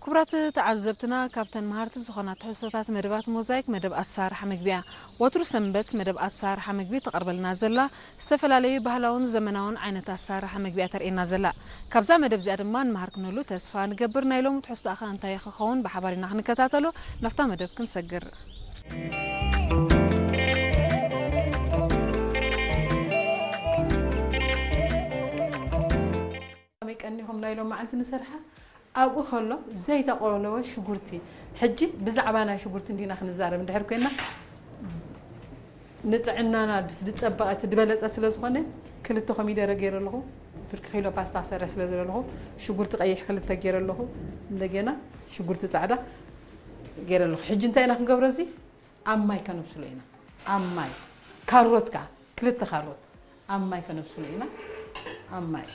ክቡራት ተዓዘብትና፣ ካብተን መሃርቲ ዝኾና ትሕዝቶታት መደባት ሞዛይክ፣ መደብ ኣሰራርሓ ምግቢ እያ። ወትሩ ሰንበት መደብ ኣሰራርሓ ምግቢ ተቐርበልና ዘላ፣ ዝተፈላለዩ ባህላውን ዘመናውን ዓይነት ኣሰራርሓ ምግቢ እያ ተርእየና ዘላ። ካብዛ መደብ እዚኣ ድማ ንመሃር ክንህሉ ተስፋ ንገብር። ናይ ሎሚ ትሕዝቶኣ ኸ እንታይ ክኸውን ብሓባር ኢና ክንከታተሎ። ናብታ መደብ ክንሰግር። ከመይ ቀኒኹም ናይ ሎም መዓልቲ ንሰርሓ? ኣብኡ ከሎ ዘይተቆለወ ሽጉርቲ። ሕጂ ብዛዕባ ናይ ሽጉርቲ እንዲና ክንዛረብ እንድሕር ኮይና፣ ንጥዕናና ዝጸበቐ እቲ ዝበለጸ ስለ ዝኾነ፣ ክልተ ኮሚደረ ገይረ ኣለኹ። ብርኪ ኪሎ ፓስታ ክሰርሕ ስለ ዝደለኹ፣ ሽጉርቲ ቀይሕ ክልተ ገይረ ኣለኹ። እንደገና ሽጉርቲ ጻዕዳ ገይረ ኣለኹ። ሕጂ እንታይ ኢና ክንገብሮ? እዚ ኣብ ማይ ከነብስሎ ኢና። ኣብ ማይ። ካሮት ከኣ፣ ክልተ ካሮት ኣብ ማይ ከነብስሎ ኢና። ኣብ ማይ።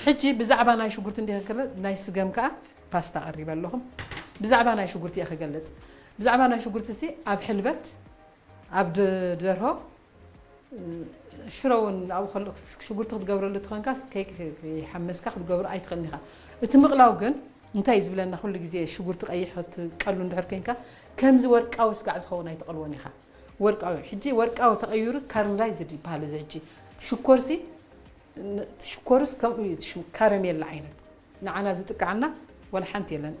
ሕጂ ብዛዕባ ናይ ሽጉርቲ እንዲህ ክለ፣ ናይ ስገም ከኣ ፓስታ ቀሪበ ኣለኹም። ብዛዕባ ናይ ሽጉርቲ እየ ክገልጽ። ብዛዕባ ናይ ሽጉርቲ ሲ ኣብ ሕልበት፣ ኣብ ድ-፣ ደርሆ፣ ሽሮ እውን ኣብኡ ከሎ ሽጉርቲ ክትገብረሉ ትኾንካስ ከይ-፣ ከይሓመስካ ክትገብሮ ኣይትኽእልን ኢኻ። እቲ ምቕላው ግን እንታይ እዩ ዝብለና? ኩሉ ግዜ ሽጉርቲ ቀይሕ ክትቀሉ እንድሕር ኮይንካ፣ ከምዚ ወርቃዊ ስጋዕ ዝኸውን ኣይትቐልዎን ኢኻ። ወርቃዊ፣ ሕጂ ወርቃዊ ተቐይሩ ካርምላይዝድ ይበሃል። እዚ ሕጂ ሽኮርሲ፣ ን-፣ ሽኮርስ ከምኡ እዩ፣ ሽም-፣ ካረሜላ ዓይነት ንዓና ዝጥቅዓና ወላ ሓንቲ የለን፣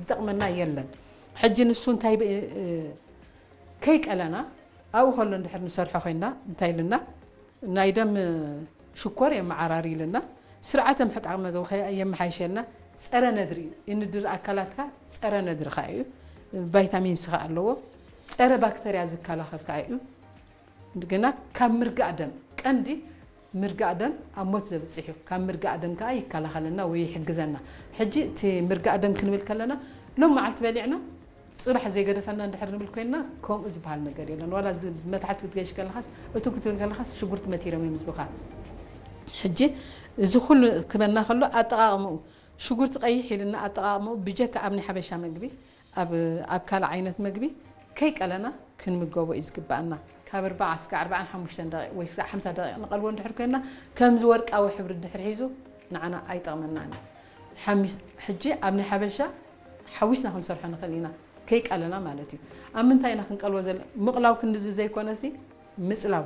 ዝጠቕመና የለን። ሕጂ ንሱ እንታይ ብ-፣ እ፣ ከይቀለና ኣብኡ ከሎ እንድሕር ንሰርሖ ኮይና እንታይ ኢልና፣ ናይ ደም ሽኮር የመዓራሪ ኢልና፣ ስርዓተ ምሕቃቕ መግቢ ከ-፣ የመሓይሸልና፣ ጸረ ነድሪ እዩ። የንድር ኣካላትካ ጸረ ነድሪ ከኣ እዩ። ቫይታሚን ሲ ከኣ ኣለዎ። ጸረ ባክተርያ ዝከላኸል ከኣ እዩ። ግና ካብ ምርጋእ ደም፣ ቀንዲ ምርጋእ ደም ኣብ ሞት ዘብጽሕ እዩ። ካብ ምርጋእ ደም ከኣ ይከላኸለና ወይ ይሕግዘና። ሕጂ እቲ ምርጋእ ደም ክንብል ከለና፣ ሎም መዓልቲ በሊዕና ጽባሕ ዘይገደፈና እንድሕር ንብል ኮይንና፣ ከምኡ ዝበሃል ነገር የለን። ዋላ እዚ መታሕት ክትገይሽ ከለኻስ፣ እቱ ክትብል ከለኻስ ሽጉርቲ መቲሮም እዮም ዝብኻ። ሕጂ እዚ ኩሉ ክበና ከሎ ኣጠቓቕምኡ፣ ሽጉርቲ ቀይሕ ኢልና ኣጠቓቕምኡ ብጀካ ኣብ ናይ ሓበሻ መግቢ፣ ኣብ፣ ኣብ ካልእ ዓይነት መግቢ ከይቀለና ክንምገቦ እዩ ዝግባኣና። ካብ ኣርባዓ እስካብ ኣርባዓን ሓሙሽተን ደቂቕ ወይ እስካብ ሓምሳ ደቂቕ ንቐልዎ እንድሕር ኮይንና፣ ከምዚ ወርቃዊ ሕብሪ እንድሕር ሒዙ ንዓና ኣይጠቕመናን እዩ። ሓሚስ-፣ ሕጂ ኣብ ናይ ሓበሻ ሓዊስና ክንሰርሖ ንኽእል ኢና፣ ከይቀለና ማለት እዩ። ኣብ ምንታይ ኢና ክንቀልዎ ዘለ-? ምቕላው ክንድዚ ዘይኮነሲ፣ ምጽላው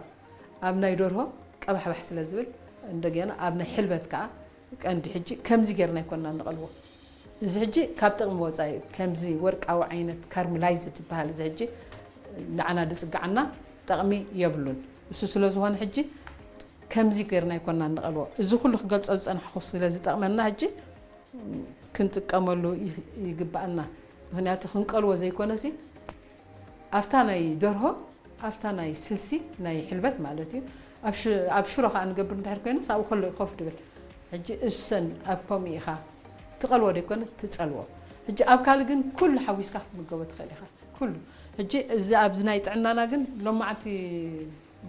ኣብ ናይ ደርሆ ቀባሕባሕ ስለ ዝብል፣ እንደገና ኣብ ናይ ሕልበት ከኣ ቀንዲ ሕጂ ከምዚ ጌርና ኣይኮንና ንቐልዎ። እዚ ሕጂ ካብ ጥቕሚ ወጻኢ እዩ። ከምዚ ወርቃዊ ዓይነት ካርምላይዝድ ዝበሃል እዚ ሕጂ ንዓና ዝጽግዓና ጠቕሚ የብሉን። እሱ ስለ ዝኾነ ሕጂ ከምዚ ጌርና ኣይኮንና ንቐልዎ። እዚ ኩሉ ክገልጾ ዝጸናሕኩ ስለ ዝጠቕመና ሕጂ ክንጥቀመሉ ይ-፣ ይግባኣና። ምኽንያቱ ክንቀልዎ ዘይኮነሲ፣ ኣብታ ናይ ደርሆ፣ ኣብታ ናይ ስልሲ፣ ናይ ሕልበት ማለት እዩ። ኣብ ሽ-፣ ኣብ ሽሮ ከኣ ንገብር እንድሕር ኮይኑስ ኣብኡ ከሎ እዩ ኮፍ ድብል። ሕጂ እሰን ኣብ ከምኡ ኢኻ ትቐልዎ ደይኮነ ትጸልዎ። ሕጂ ኣብ ካልእ ግን ኩሉ ሓዊስካ ክትምገቦ ትኽእል ኢኻ። ኩሉ። ሕጂ እዚ ኣብዚ ናይ ጥዕናና ግን ሎማዓንቲ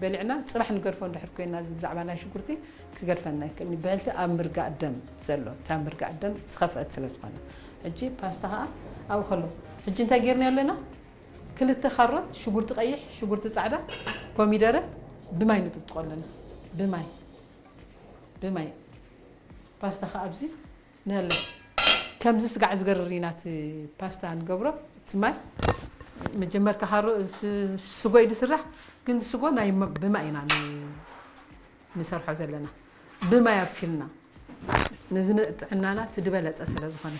በሊዕና ጽባሕ ንገድፎ እንድሕር ኮይና፣ እዚ ብዛዕባ ናይ ሽጉርቲ ክገድፈና ይክእል እዩ። ብሕልፊ ኣብ ምርጋእ ደም ዘሎ፣ እታ ምርጋእ ደም ዝኸፍአት ስለ ዝኾነ። ሕጂ ፓስታ ከኣ ኣብኡ ከሎ። ሕጂ እንታይ ጌርና ኣለና? ክልተ ካሮት፣ ሽጉርቲ ቀይሕ፣ ሽጉርቲ ጻዕዳ፣ ኮሚደረ ብማይ ንጥጥቆ ኣለና። ብማይ። ብማይ። ፓስታ ከኣ ኣብዚ ንህለ። ከምዚ ስጋዕ ዝገርር ኢና እቲ ፓስታ ንገብሮ። እቲ ማይ መጀመርታ ካሮ-፣ ስ-፣ ስጎ እዩ ዝስራሕ፣ ግን ስጎ ናይ መ-፣ ብማይ ኢና ን-፣ ንሰርሖ ዘለና። ብማይ ኣብሲልና። ነዚ ንጥዕናና እቲ ዝበለጸ ስለ ዝኾነ።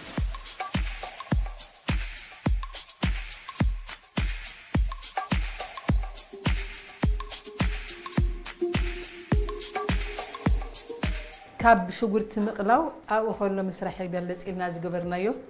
ካብ ሽጉርቲ ምቕላው ኣብኡ ከሎ ምስራሕ ይበልጽ ኢልና ዝገበርናዮ